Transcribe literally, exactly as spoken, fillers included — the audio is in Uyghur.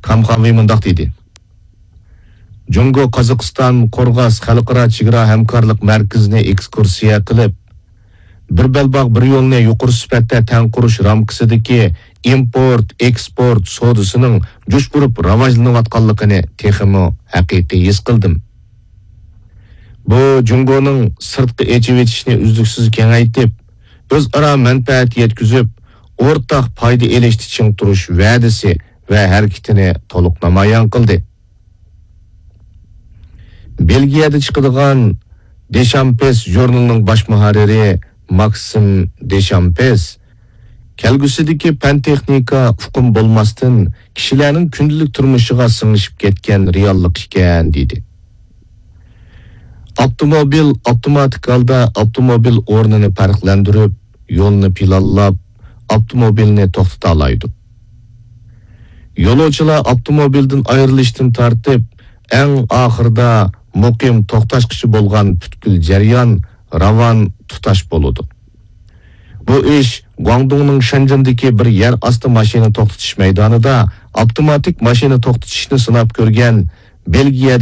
تامخاۋى مۇنداق دېدى: جۇڭگو قازاقىستان قورغاس خەلقئارا چېگرا ھەمكارلىق مەركىزىنى ئېكسكۇرسىيە قىلىپ، بىر بەلباغ، بىر يولنى يۇقىرى سۈپەتتە تەڭ قۇرۇش رامكىسىدىكى ئىمپورت، ئېكسپورت سودىسىنىڭ جۇش ئۇرۇپ راۋاجلىنىۋاتقانلىقىنى تېخىمۇ ھەقىقىي ھېس قىلدىم. بۇ جۇڭگونىڭ سىرتقا ئېچىۋېتىشنى ئۈزلۈكسىز كېڭەيتىپ، ئۆزئارا مەنپەئەت يەتكۈزۈپ، ئورتاق پايدا ئېلىشتا چىڭ تۇرۇش ۋەدىسى ۋە ھەرىكىتىنى تولۇق نامايان قىلدى. بېلگىيەدە چىقىدىغان دېشامپېس ژۇرنىلىنىڭ باش مۇھەررىرى ماكسىم دېشامپېس، كەلگۈسىدىكى پەن-تېخنىكا ئۇقۇم بولماستىن، كىشىلەرنىڭ كۈندىلىك تۇرمۇشىغا سىڭىشىپ كەتكەن رېئاللىق ئىكەن، دېدى. ئاپتوموبىل ئاپتوماتىك ھالدا ئاپتوموبىل ئورنىنى پەرقلەندۈرۈپ، يولنى پىلانلاپ، ئاپتوموبىلنى توختىتالايدۇ. يولۇچىلار ئاپتوموبىلدىن ئايرىلىشتىن تارتىپ، ئەڭ ئاخىرىدا مۇقىم توختاشقىچە بولغان پۈتكۈل جەريان راۋان، تۇتاش بولىدۇ. بۇ ئىش گۇاڭدۇڭنىڭ شەنجېندىكى بىر يەر ئاستى ماشىنا توختىتىش مەيدانىدا ئاپتوماتىك ماشىنا توختىتىشنى سىناپ كۆرگەن بېلگىيەدە